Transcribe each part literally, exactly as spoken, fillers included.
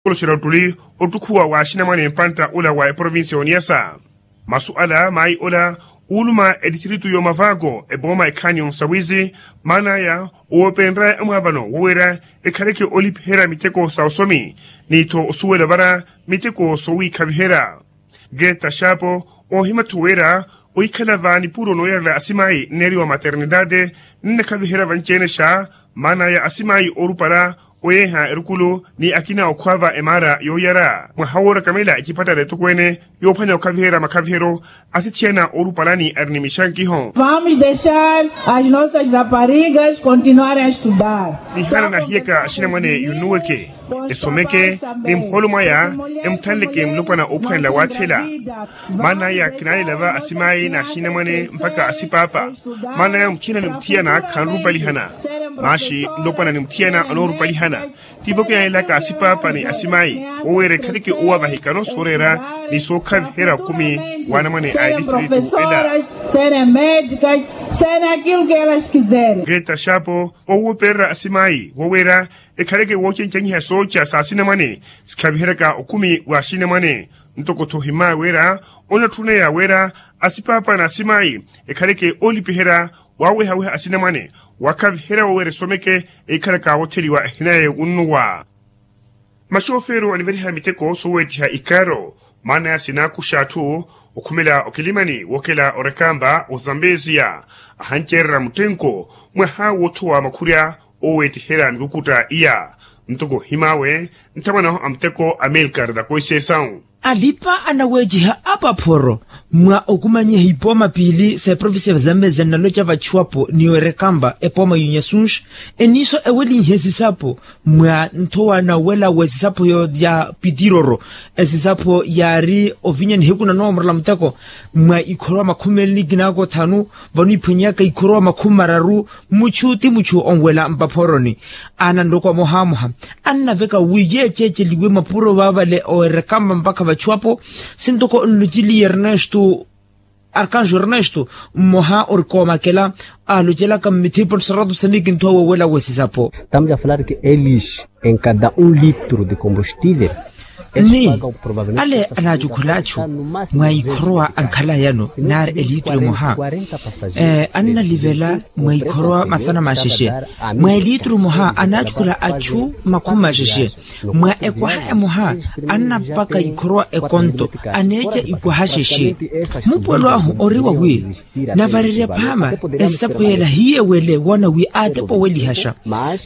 Oloxera ottuli ottukhuwa wa axinamwane mpantta ola wa eprovincia y'oniyasa. Masu ala maayi ola uuluma etistiritu y'omavaako epooma ekhaani y'onsawizi, maan'aya owoopenrya amwaavano woweera ekhaleke olipiherya miteko sa osomi, ni-tho osuwela ovara miteko sowiikhaviherya. Geta xaapo oohima-tho wira ohikhala va nipuro nooyarela asimaayi nneeriwa maternidade, nnakhaviherya vanci-ene xa maan'aya asimaayi oorupala oyeeha erukulu ni akina okhwaava emaara yooyara mwaha woorakamela ecipattara etokweene yoophwanya okhaviherya makhaviheryo asithiyana oorupalani ari ni mixankiho. Vamos dexar as nossas raparigas continuarem a estudar. Nihaana nahiyaka axinamwane yunnuweke esomeke ni muhoolo mwaya emuthanleke mulopwana oophwanela waathela. Maan'aya kinaalela va asimaayi n'axinamwane mpakha asipaapa. Maan'aya muthiyana ni muthiyana khanrupalihana. Maaxi mulopwana ni muthiyana anoorupalihana. Tivo kinaalela ka asipaapa ni asimaayi woweera ekhaleke owa vahikano sooreera ni sookhaviherya okumi w'anamwane a etistritu ela. Serem medikas, serem aquilo que elas quizerem. Geta xaapo owoopererya asimaayi woweera ekhaleke woocencanyiha sooca sa asinamwane sikhaviheryaka okumi w'axinamwane. Ntoko-tho ohimaya wira onatthunaya wira asipaapa n'asimaayi ekhaleke oolipiherya waawehaweha asinamwane wakhaviherya woweera esomeke eikhalaka wootheliwa ehina yaye wunnuwa. Maxoofeero aniveliha miteko sooweettiha ikaaro maana ya sinaakuxa atthu okhumela okilimani wookela orekamba ozambeziya ahanceererya muttenko mwaha woothowa makhurya ooweettiherya mikukutta iya. Ntoko ohimaawe nthamwanahu a muteko amilkar da koisesawu. Alipa anaweeciha apaphoro mwa okumanyiha ipooma piili sa eprovincia ya zamezia nnaloca vachuwapo ni oerekamba epooma y'unyasunxi eniiso ewelinhe esisapo mwa nthowa nawela w'esisapo ya pitiroro. Esisapo yaari ovinya nihiku nanoomorela muteko mwa ikhorowa makhumi meeli ni kinaaka othanu vano iphwenyeyaka ikhorowa makhumi mararu muchu ti muchu onwela mpaphoroni. Ananloko amohamoha annaveka wi yeeceeceliwe mapuro vaavale oerekamba mpakha vachuwapo. Sintoko nloceliye ernesto arkanjo ernesto mmoha ori koomakela alocelaka mmithipo nseratu samiki nthowa wowela wesisapo. Estamos a falar que eles em cada um litro de combustível ni ale anaacukhula achu mwa ikhorowa ankhalayano naari elitru emoha annalivela mwa ikhorowa masana maxexe mwa elitru emoha anaacukhula achu makhumi maxexe mwa ekwaha emoha annapaka ikhorowa ekonto aneeca ikwaha xexe. Mupuwelo ahu ori wawi navarerya phaama esisapo yela hiye wele woona wi aatepa owelihaxa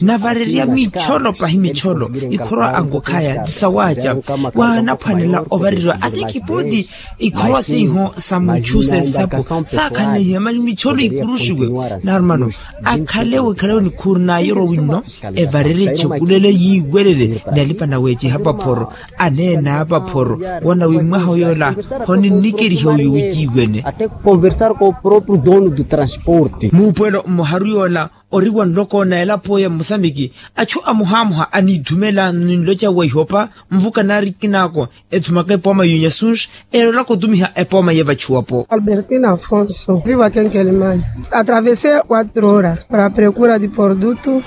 navarerya micholo pahi micholo ikhorowa ankokhaya sawaaca waanaphwanela ovareriwa ata ekipooti ikhorowa seiho sa muchu sesisapo saakhanleihiwa mani micholo ikuruxiwe narumano akhale wikhale onikhuru naayerwa winno evarerye echekulele yiiwelele ni alipa naweeciha paphoro aneena apaphoro woona wi mwaha oyoola honinnikeriha oyo wiiwene. Até conversar com o próprio dono do transporte. Muupwelo mmoharu yoola ori wa nloko na elapo ya mmosamiki achu amohamoha aniithumela ninloca wa ihopa nvuka naari kinaako ethumaka epooma y'unyasunxi eloolaka otumiha epooma y'evachuwapo. Albertina afonso vivo aqui em quelimane atravessei quatro horas para a procura de produto.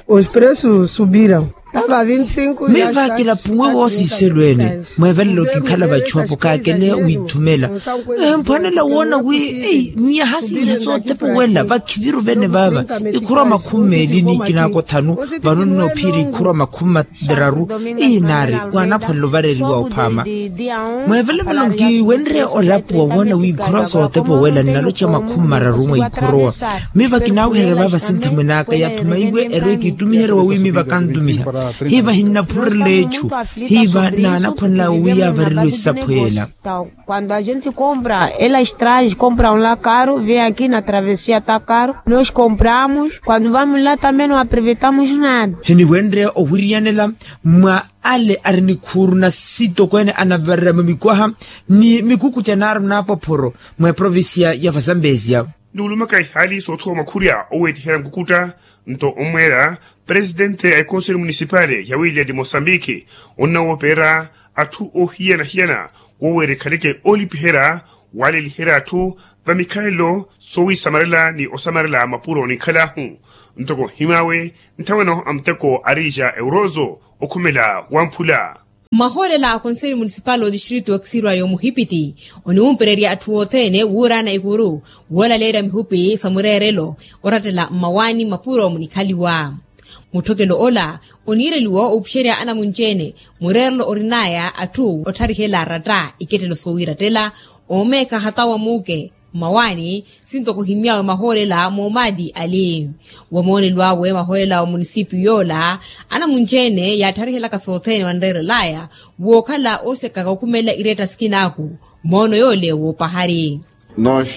Os preços subiram. Miva kilapuwe woosiiselo ene mweevelela okinkhala vachuwapo kaakele wiithumela mphwanela woona wi miyaha sinyaha soothepowela vakhiviru vene vaava ikhurwa makhumi meeli ni ikinaako thanu vano nnoophiyerya ikhurwa makhumi materaru. Ii naari waanaphwanela ovareriwa ophaama mweevelemelo nkiwenrye olapuwa woona wi ikhorowa sootepa owela nnaloca makhumi mararu mwa ikhorowa. Miva kinaawiherya vaava sinthemwen'aka yathuma iwe erwe kiitumiherya wawi miva kantumiha hiva hinnaphurerela echu hiva naanaphwanela wawi yaavareriwe esisapho yela. Quando a gente compra elas traz compram lá caro vem aqui na travessia tá caro nós compramos quando vamos lá também não aproveitamos nada. Hiniwenrye owiriyanela mwa ale ari ni khuuru na sitokweene anavarerya mwa mikwaha ni mikukuca naaru naapophoro mwa eprovincia ya vazambezia. Nuulumaka ihaali soothowa makhurya oweettiherya nkukutta nto omweera presidente a ekonseli munisipale ya wiliyati mosambiki onnawooperya atthu oohiyana-hiyana woweera ekhaleke oolipiherya waaleliherya atthu vamikhalelo soowisamarela ni osamarela mapuro ninkhal'ahu. Ntoko nhim'awe nthamwanahu a muteko arija eurozo okhumela wa mphula. Mmahoolela a konselho munisipal otistritu okisirwa y'omuhipiti oniwumpererya atthu othene wuuraana ikuru woolaleerya mihupi sa mureerelo orattela mmawaani mmapuro munikhaliwa. Mutthokelo ola oniireliwa opuxerya anamunci-ene mureerelo orin'aya atthu otharihela aratta ikettelo soowirattela oomeekha hata wa muuke mmawaani. Sintoko ohimmyawe mahoolela moomaati ali wamoonelo awe mahoolela wa munisipiyu yoola anamunci-ene yaattarihelaka sothene wanreerel'aya wookhala oosekaka okhumelela iretta sikinaku. Moono yoole woopahari. Nos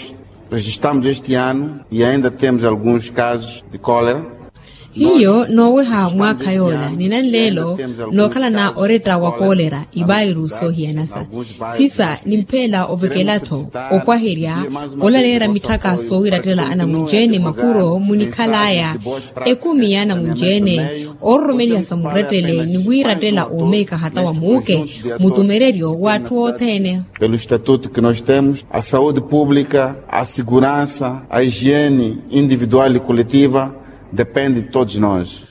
rejistamos este ano e ainda temos alguns casos de cólera. Hiyo nooweha mwaakha yoola ni nanleelo nookhalana oretta wa koolera ivairu soohiyanasa. Sisa nimpheela ovekela-tho opwaherya olaleera mitthaka soowirattela anamunci-ene mapuro munikhal'aya ekumi y'anamunci-ene oororomeliha sa murettele ni wiirattela oomeekha hata wa muuke mutumereryo w'atthu othene. Pelo estatuto que nós temos a saúde pública a segurança a higiene individual e coletiva depende de todos nós.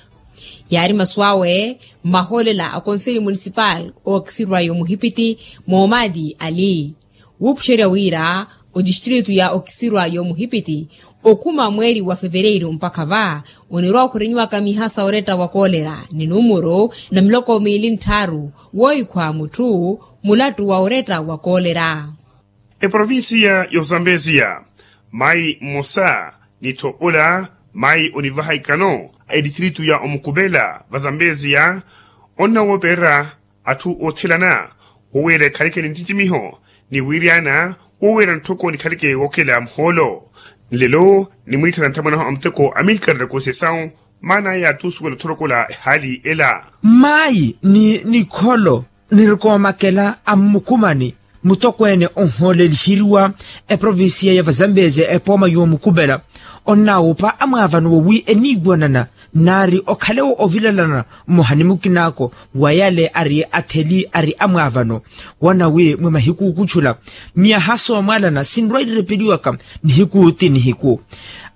Yaari masu awe mmahoolela a konselho munisipal ookisirwa y'omuhipiti moomaati ali wuupuxerya wira otistritu ya okisirwa y'omuhipiti okhuma mweeri wa fevereiru mpakha va onirwa okhurinyiwaka miha sa oretta wa koolera ni numuru na miloko miili ntthaaru woohikhwa mutthu mulattu wa oretta wa koolera. Eprovincia y'ozambezia mayi mmosa ni tho ola mayi onivaha ikano a etistritu ya omukupela vazambezia onnawoopererya atthu oothelana woweera ekhaleke ni ntticimiho ni wiiryana woweera ntthoko nikhaleke wookela muhoolo. Nlelo nimwiitthana nthamwanaho a muteko amilkar na konsesau maana aya attuusuwela othorokola ehaali ela. Mayi ni nikholo nirikoomakela a mmukumani mutokweene onhooleliheriwa eprovincia ya vazambezia epooma y'omukupela onnaawupa amwaavano wawi eniiwanana naari okhalewo ovilalana mmoha ni mukinaako wa yale ari atheli ari amwaavano wanawi mwi mahiku okutthula miyaha soomwalana sinrwa-irirepeliwaka nihiku ti nihiku.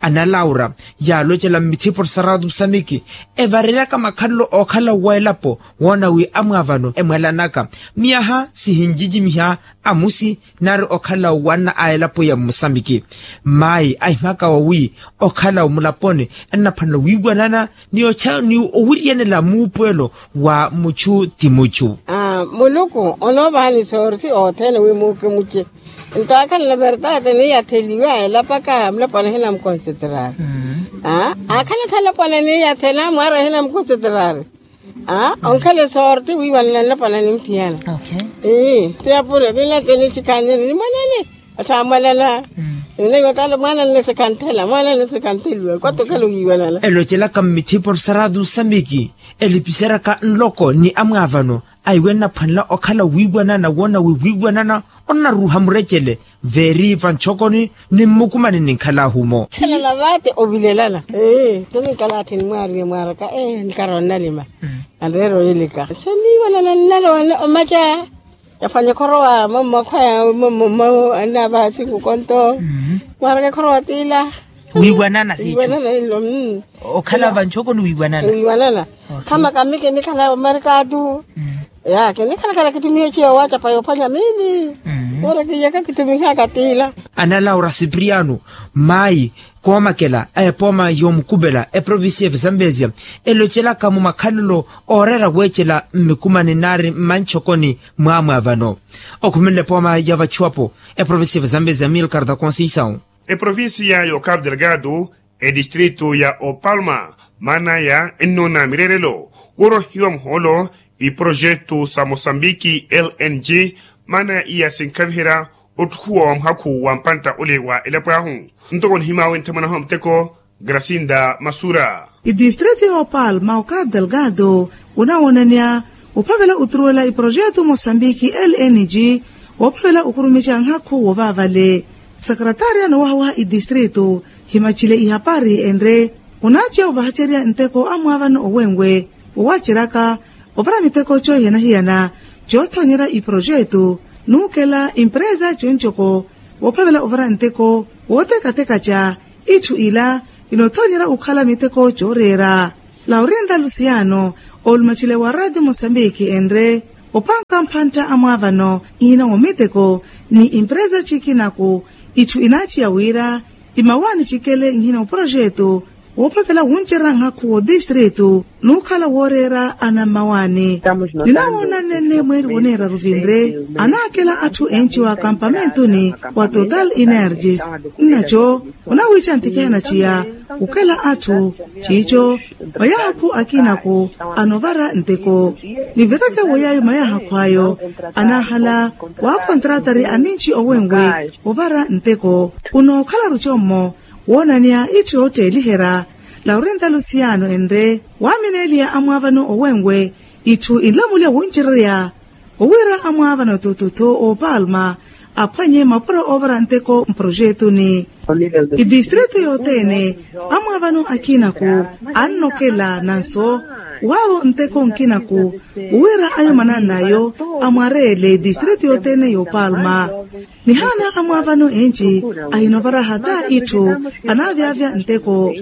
Ana laura yaalocela mmithipo saratu samiki evareryaka makhalelo ookhala wa elapo woona wi amwaavano emwalanaka miyaha sihinjijimiha amusi nari okhala wanna a elapo ya mmusambiki. Mayi ahimaka wawi okhala mulaponi ennaphwanela wiiwanana ni ocha ni owiriyanela muupuwelo wa muchu ti muchu. Muluku onoovahani soorti othene wi muuke muche ntaakhalana verdade ni yatheliwa elapaka mulapwana hinamukonsetrari. Aakhalakhala lapwana ni yathela mwaara hinamukonsetrari. Onkhale soorti wiiwanana nlapwana ni mutthiyana. Ti yapuro tinlante nichikhannyeni ni mwanene. Atthu amwalana. Ninayiwa tala mwanene sikanthela mwanene sikantheliwa kwatthu okhale owiiwanana. Elocelaka mmithipo saratu samiki elipiseryaka nloko ni amwaavano aiwe nnaphwanela okhala wiiwanana woona wi wiiwanana onnaruuha murecele veeri vanchokoni ni mmukumani ninkhalaahu-mo. Thelana vaate ovilelana. Ee tininkalaathe nimwaariye mwaaraka ee nikarowa nnalima. Anreera oyelika so niiwanana nnalowana omaca. Yaphwanya ekhorowa mamakhwaya mamakhwaya annaavaha siku konto. Mwaaraka ekhorowa tiila. Wiiwanana siicu. Okhala vanchokoni wiiwanana. Khama kami kinikhala omarikatu. Ya kinikhalakhala kitumiha echiyo waacapa yoophwanya miili. Wira kiyaka kitumiha katiila. Ana laura sipriano mayi koomakela a epooma yoomukupela eprovincia ya visambesia elocelaka mumakhalelo ooreera weecela mmikumani nari mmanchokoni mwaamwaavano. Okhuminle epooma ya vachuwapo eprovincia ya visambesia milkarta conceição. Eprovincia ya okapu delgado etistritu ya opalma maanaya ennoona mireerelo woorohiwa muhoolo iprojetu sa mosambiki lng maanaya iya sinkhaviherya ottukhuwa wa muhakhu wa mpantta ole wa elapo ahu. Ntoko nihimaawe nthamwanahu a muteko grasinda masura. Itistritu ya opalma okapu delgado onawooneneya ophavela oturuwela iprojetu mosambiki lng woophavela okurumica nhakhu wovaavale. Sekretaria noowahawaha itistritu himachile ihapari enre onaaciya ovahacerya nteko a mwaavano owenwe wowaaceryaka ovara miteko coohiyana-hiyana coothoonyerya iprojetu nuukela impresa conco-ko woophavela ovara nteko wootekatekaca itthu ila inoothoonyerya okhala miteko cooreera. Laurinda lusiano oolumachile wa radio mosambiki enre Opanka mphantta a mwaavano nhina wa miteko ni empresa cikinaku itthu inaaciya wira imawaani cikele nhina wa projetu woophapela wuncerya nhakhu wodistritu nuukhala wooreera anammawaani. Ninawoona nnenne mweeri woneeraru vinre anaakela atthu enci wa kampamentuni wa total energies nnaco onawiica ntikihana ciya kukela atthu ciico mwa yaakhu akinaku anovara nteko nivireke woyayi mwa yaakhu ayo anaahala waakontratari aninci owenwe ovara nteko unookhala rucommo woonaniya itthu yootteeliherya laurenta luciano enre waamineeliya amwaavano owenwe itthu inlamulya wuncererya owiira amwaavano tututu oopalma aphwanye mapuro oovara nteko mprojetuni idistritu yothene amwaavano akinaku annokela nanso waawo nteko nkinaku owiira ayo manannayo amwareele idistritu yothene yoopalma nihaana amwaavano enci ahinovara hata itthu anaavyavya nteko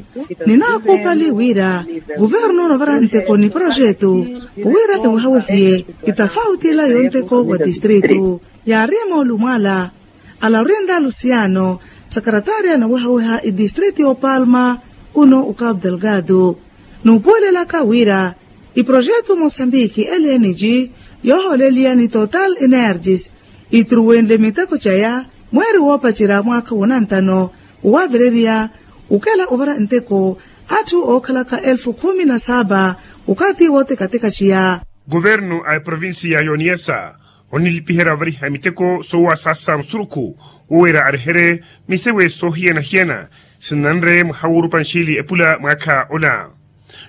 ninaakuupali wira kuvernu onovara nteko ni projetu wira ewehawehiye itafauti ila yonteko wa distritu yaari moolumwaala alaurenda luciano sakarataari anawehaweha idistritu y'opalma uno ukapu delgado nuupuwelelaka wira iprojetu mosambiki eleniji yoohooleliya ni total energies itruwenle miteko caya mweeri woopacerya mwaakha wonantano wowaavireriya ukela ovara nteko atthu ookhalaka elfu khumi na saba okathi wootekateka ciya. Kuvernu a eprovinsiya y'oniyasa onilipiherya ovariha miteko soowasaasa musurukhu wowiira areherye misewe soohiyana-hiyana sinnanre mwaha woorupa nxiili epula mwaakha ola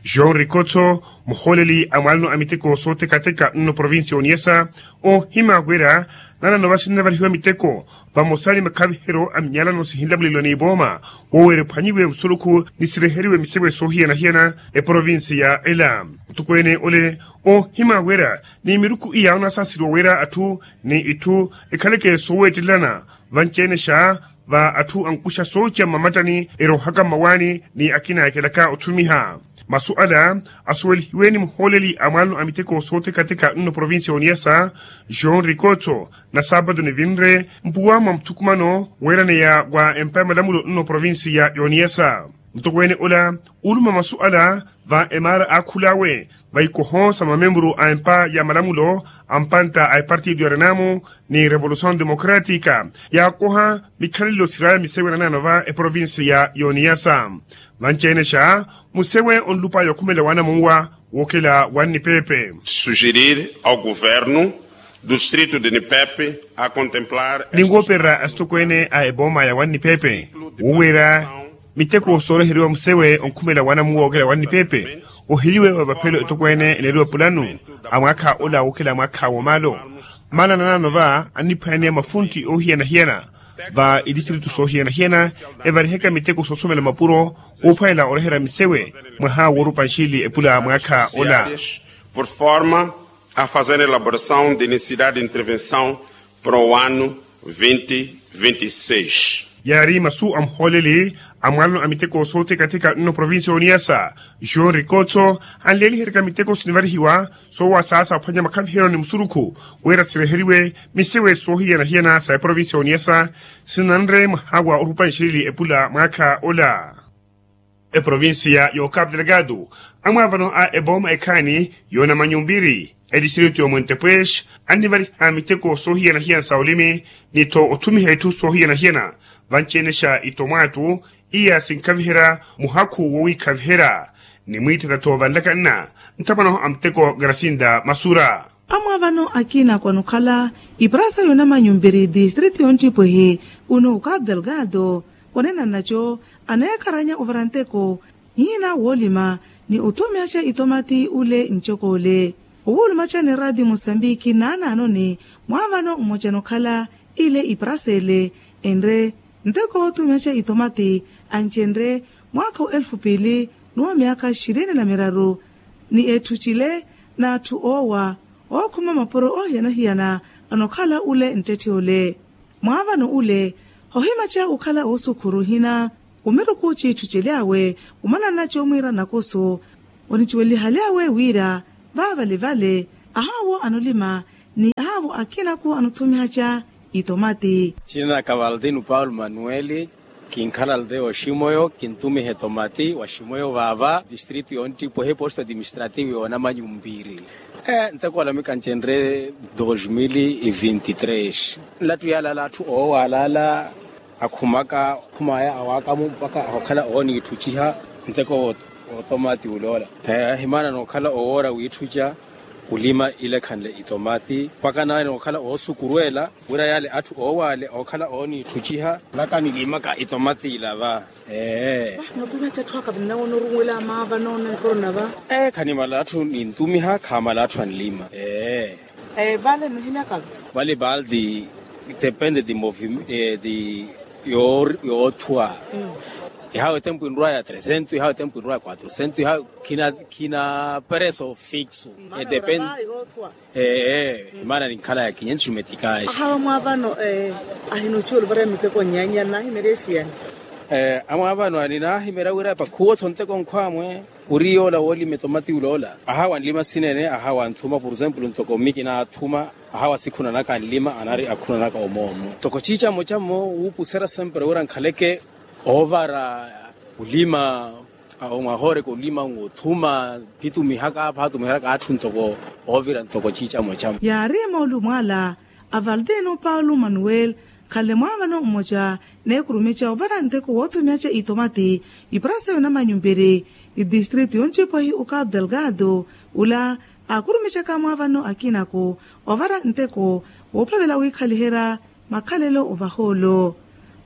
joão rikotso muhooleli a mwaalano a miteko sootekateka nno provinsiya oniyasa oohima wira nanano vasinnavarihiwa miteko vamosa ni makhaviheryo a minyalano sihinlamuleliwa n'ivooma woowira ephwanyiwe musurukhu ni sireheriwe misewe soohiyana-hiyana eprovinsiya ela mutukweene ole oohima wira ni miruku iya onasaaseriwa wira atthu ni itthu ekhaleke sooweettelelana vanci-enexa va atthu ankuxa sooca mmamattani eroohaka mmawaani ni akina ekelaka otthumiha masu ala asuwelihiwe ni muhooleli a mwaalano a miteko sootekateka nno provinsiya y'oniyasa joão rikotso na saapatu nivinre mpuwa mwa muthukumano weeraneya wa empa ya malamulo nno provinsiya y'oniyasa mutokweene ola uuluma masu ala va emaara aakhul'awe va ikoho sa mamemburu a empa ya malamulo a mpantta a epartido ya renamu ni revolusaw democratica yaakoha mikhalelo siraya misewe nanano va eprovinsiya y'oniyasa vanci-enexa musewe onlupaya okhumela waanamuwa wookela wannipepe sugerir ao governo do distrito de nipepe a contemplar ninwoopererya asitokweene a epooma ya wannipepe wuuweera miteko sooreheriwa musewe onkhumela waanamuwa wookela wannipepe ohiliwe wa epaphelo etokweene eneeriwa pulanu a mwaakha ola wookela mwaakha woomaalo maana nanano va anniphwaneya mafuntti oohiyana-hiyana va itistritu soohiyana-hiyana evariheke miteko soosomela mapuro woophwanela oreherya misewe mwaha woorupa nxiili epula mwaakha ola por forma a fazer elaboração de necessidade de intervenção para o ano vinte vinte e seis yaari masu a muhooleli a mwaalano a miteko soothekatheka nno provinsiya y'oniyasa joão rikotso anleeliheryaka miteko sinivarihiwa soowasaasa ophwanya makhaviheryo ni musurukhu wira sireheriwe misewe soohiyana-hiyana sa eprovinsiya y'oniyasa sinanre mwaha wa orupa nxilili epula mwaakha ola eprovinsiya y'okapu delegado amwaavano a epooma ekhaani y'onamanyumpiri edistritu y'omwentepwesh annivariha miteko soohiyana-hiyana sa olimi ni-tho otthumiha itthu soohiyana-hiyana vanci-enexa itomwaatu iya sinkhaviherya muhakhu wowiikhaviherya ni mwiittela-tho vanlaka nna nthamwanaho a muteko grasinda masura amwaavano akina kwanukhala iparasa y'onamanyumpiri distritu y'onttipwehi uno ukapu delgado onena nnaco aneekharanya ovara nteko nhina woolima ni otthumihaca itomati ule ncokole owuulumaca ni radio mosambiki naanaanoni mwaavano mmoca nokhala ile iparasele enre nteko otthumihaca itomati ancenre mwaakha wa elfu piili n'uwa myaakha xirini na miraru ni etthu cile n'atthu oowa ookhuma mapuro oohiyana-hiyana anokhala ule nttetthe ole mwaavano ule ohimaca okhala oosukhuru hina omiruku ciitthu ceely'awe omananna coomwiira nakusu onicuwelihaly'awe wira vaavalevale ahaawo anolima akinaku anuthumihaca itomati. Cina na kavaldino paulo manueli. Kinkhala aldeya oximoyo kintumiha etomati waximoyo vaava distrito yonttipweha eposto administrativo yoonamanyumpiri. Nteko olamika ncenre dos mil e vinti tres. Nlattu yalala atthu oowalala akhumaka khumaya awakamu mpaka ahokhala ooniitthuciha nteko otomati uloola. Ahimana nookhala owoora wiitthuca ulima ilekhanle itomati mpaka nawe nookhala oosukurwela wira yale atthu oowale ookhala ooniitthuciha. Laka nilimaka itomati ila va. Ee. Notumiha catthu akavinnawo noruwela maava noona nkorona va. Ee khanimala atthu nintumiha khamala atthu anlima. Ee. Vale nohimyaka va. Vale baldi depende di movimento di yoothwa. Ihawe tempu inrwa ya tresento ihawe tempu inrwa ya quatrosento ihawe khina preso fixo. Edepende. Ee imana ninkhala ya kinyensu metikaxi. Ahawa mwaavano ahinuci oluvara miteko nnyanya nnahimerya esiyani. Amwaavano aninaahimerya wira pakhuwotho nteko nkhwamwe. Ori yoola woolima etomati uloola ahawa anlima sinene ahawa anthuma por exemplo ntoko mmi kinaathuma. Ahawa sikhunanaka anlima anari akhunanaka omoomo ntoko ciicamocamo wuupuserya sempre wira nkhaleke oovara olima. Omwahooreka olima ng'othuma phitumihaka phaatumiheraka atthu ntoko oovira ntoko ciicamocamo. Yaari emoolu mwaala a valdino paulo manuel khanle mwaavano mmoca neekhurumica ovara nteko woothumihaca itomati. Iparasa yonamanyumpiri idistrito yonttipwehi okapu delgado ula aakhurumicaka mwaavano akinaku ovara nteko woophavela wiikhaliherya makhalelo ovahoolo.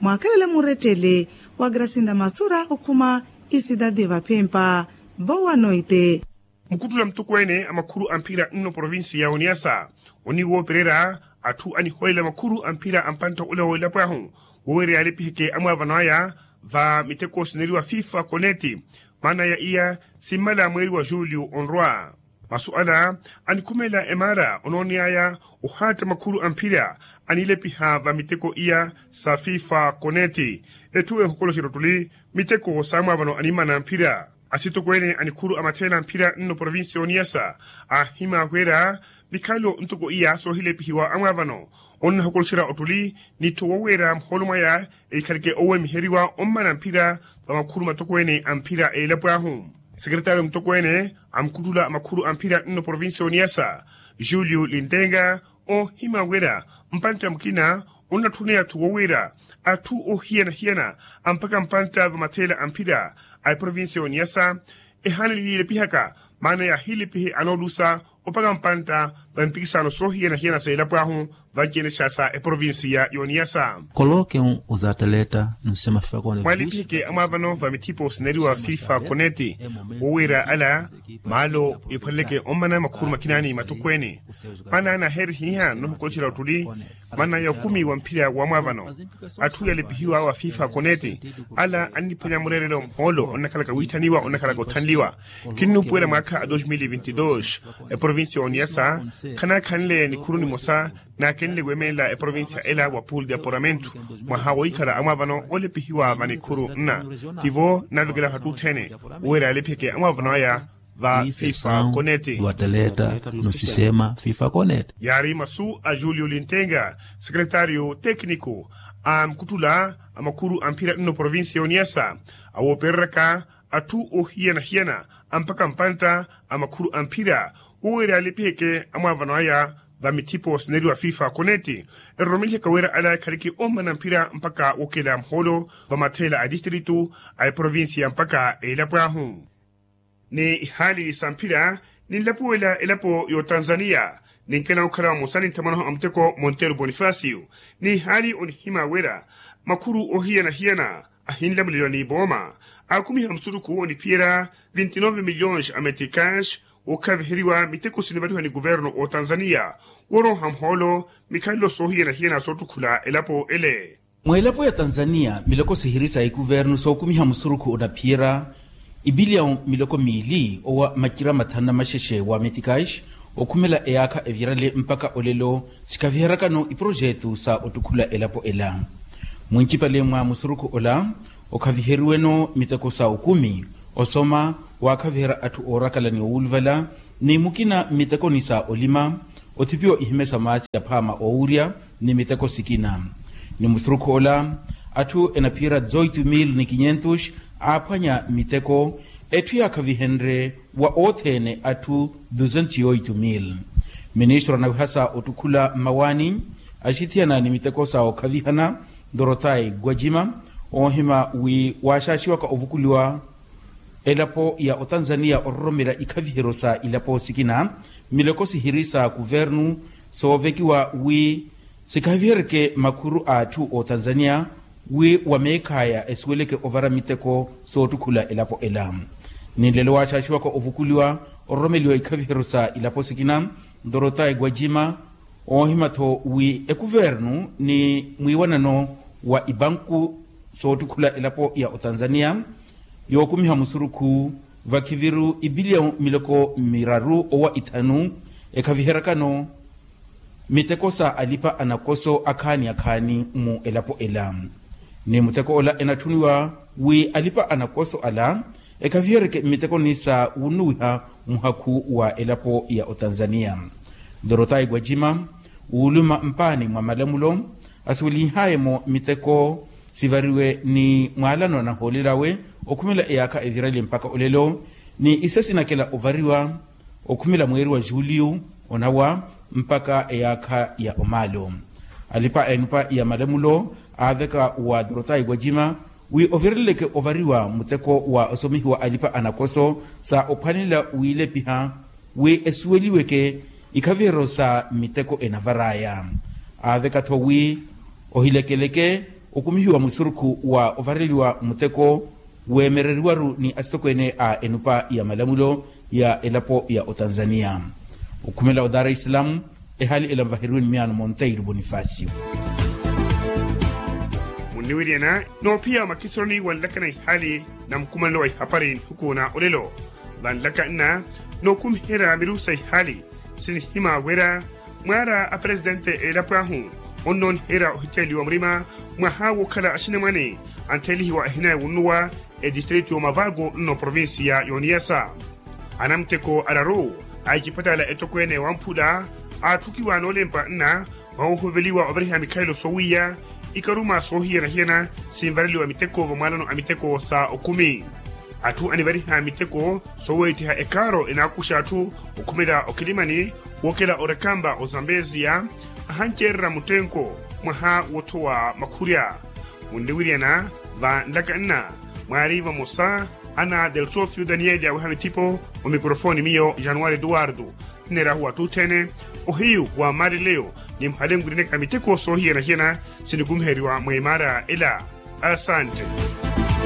Mwaakhelele murettele wa grasinda masura okhuma isidadi vaphempa. Vowa noite. Mukhuttula mutokweene a makhuru a mphira nno provincia ya oniasa oniwoopererya atthu aniholela makhuru a mphira a mpantta ula w'elapo ahu woweerya yaalepiheke amwaavano aya va miteko sineriwa fifa koneti. Maana ya iya simmala mweeri wa julio onrwa. Masu ala anikhumelela emaara onooneyaya ohaatta makhuru a mphira anilepiha va miteko iya sa fifa koneti. Etthu ehokoloxerya ottuli miteko saamwaavano animmana mphira. Asitokweene a nikhuru a matheela a mphira nno provincia ya oniasa aahimya wira mikhalelo ntoko iya soohilepihiwa amwaavano onnahokoloxerya ottuli n'itthu woweera muhoolo mwaya. Ehikhaleke owemiheriwa ommana mphira va makhuru matokweene a mphira a elapo ahu. Sekeretariyo mutokweene a mukhuttula a makhuru a mphira nno provincia ya oniasa julio lintenga oohimya wira mpantta mukina onnatthuneya atthu wowiira atthu oohiyana-hiyana ampaka mpantta va matheela a mphira a eprovincia ya oniasa ehaana elilepihaka maana yaahilepihe anoolusa opaka mpantta va mpikisaano soohiyana-hiyana sa elapo ahu vanci-ene xa sa eprovincia ya oniasa. Koloke uzataleta nusema fifa koneti mwaalipiheke amwaavano va mithipo sineriwa fifa koneti wowiira ala maalo ephwaleleke ommana makhuru makina ni matokweene. Maana naaherihiha nnohokoloxerya ottuli maana ya okumi wa mphira wa mwaavano atthu yaalipihiwa wa fifa koneti ala anniphwanya mureerelo mhoolo onnakhalaka wiitthaniwa onnakhalaka otthanliwa. Kinnuupuwela mwaakha a dos mil e vinti dos eprovincia ya oniasa khanaakhanle nikhuru nimosa naakenle weemelela eprovincia ela wa pool de apuramento mwaha woikhala amwaavano olepihiwa va nikhuru nna tivo nnaavekela hattuthene. Uwera yaalepheke amwaavano aya va fifa koneti. Yaari masu a julio lintenga sekretario tekniko a mukhuttula a makhuru a mphira nno provincia ya oniasa awoopereraka atthu oohiyana-hiyana ampaka mpantta a makhuru a mphira woweera yaalepheke amwaavano aya va mithipo sineriwa fifa koneti eroromelihaka wira ala ekhaleke ommana mphira mpaka wokela muhoolo va matheela a distritu a eprovincia mpaka elapo ahu. Ni ihaali sa mphira ninlapuwela elapo y'otanzaniya ninkela okhala vamosa ni nthamwanahu a muteko monteru bonifacio. Ni ihaali onihimya wira makhuru oohiyana-hiyana ahinlamuliwa ni vooma aakumiha musurukhu oniphiyerya vinti nove milhões a meticas wookhaviheriwa miteko sinivaliwa ni kuvernu otanzaniya wooroha muhoolo mikhalelo soohiyana-hiyana soottukhula elapo ele. Mweelapo ya tanzaniya miloko sihiri sa ikuvernu sookumiha musurukhu onaphiyerya ibiliyawu miloko miili owa macira mathanu na maxexe wa meticas okhumela eyaakha evirale mpaka olelo sikhaviherakano iprojetu sa ottukhula elapo ela. Mwincipale mwa musurukhu ola okhaviheriweno miteko sa okumi osoma waakhaviherya atthu oorakala ni owuluvala ni mukina mmitekoni sa olima Othipiwa ihimesa maasi ya phaama oowurya ni miteko sikina. Ni musurukhu ola, atthu enaphiyerya zoitu mil ni kinyentus aaphwanya miteko, etthu yaakhavihenrye wa othene atthu duzentos yoitu mil. Ministro anawihasa ottukhula mmawaani axithiyana ni miteko sa okhavihana, dorothai gwajima, oohima wi waaxaaxiwaka ovukuliwa elapo ya otanzaniya ororomela ikhaviheryo sa ilapo sikina, mileko sihiri sa kuvernu soovekiwa wi sikhaviheryeke makhuru a atthu otanzaniya, wi wa meekhaya esuweleke ovara miteko soottukhula elapo ela. Ni nlelo waaxaaxiwaka ovukuliwa ororomeliwa ikhaviheryo sa ilapo sikina, dorothai gwajima, oohima-tho wi ekuvernu ni mwiiwanano wa ibanku soottukhula elapo ya otanzaniya yookumiha musurukhu vakhiviru ibiliyawu miloko miraru owa ithanu, ekhaviheryakano miteko sa alipa anakoso akhaani akhaani mu elapo ela. Ni muteko ola enatthuniwa wi alipa anakoso ala ekhaviheryeke mmitekoni sa wunnuwiha muhakhu wa elapo ya otanzaniya. Dorothai gwajima, wuuluma mpaani mwa malamulo, asuwelinhaaye-mo miteko sivariwe ni mwaalano anahoolelawe okhumela eyaakha evirali mpakha olelo, ni iso sinakela ovariwa okhumela mweeri wa juliyu onawa mpakha eyaakha ya omaalo. Alipa a enupa ya malamulo aaveka wa dorothai gwajima wi ovireleleke ovariwa muteko wa osomihiwa alipa anakoso sa ophwanelela wiilepiha wi esuweliweke ikhaviheryo sa miteko enavar'aya. Aaveka-tho wi ohilekeleke okumihiwa musurukhu wa ovareliwa muteko weemereriwaru ni asitokweene a enupa ya malamulo ya elapo ya otanzaniya. Okhumela o dar es salaam, ehaali ela mvaheriwe ni miyaano monteiro bonifacio. Munniwiryana noophiya makisironi wanlakana ihaali na mukumanelo wa ihapari nihuku na olelo, vanlaka nna nookumiherya mirusa ihaali sinihima wira mwaara a presitente elapo ahu onnooniherya ohiteliwa murima mwaha wookhala axinamwane anthelihiwa ehina ewunnuwa etistritu y'omavago nno provincia y'oniyasa. Anamuteko araru a ecipatala etokweene wamphula aatthukiwa noolempa nna mwaha wohuveliwa ovariha mikhalelo soowiya ikaruma soohiyana-hiyana sinvareliwa miteko vamwaalano a miteko sa okumi. Atthu anivariha miteko sooweettiha ekaaro enaakuxa atthu okhumela okilimani wookela orekamba ozambeziya ahanceererya muttenko mwaha woothowa makhurya. Munniwiryana vanlaka nna mwaari vamosa ana delsofio daniel yaaweha mithipo omikrofoni miyo januari eduwardo nneerahu wattuthene ohiyu wa maaleleyo ni muhale nwirineka miteko soohiyana-hiyana sinikumiheriwa mweemaara ela. Asante.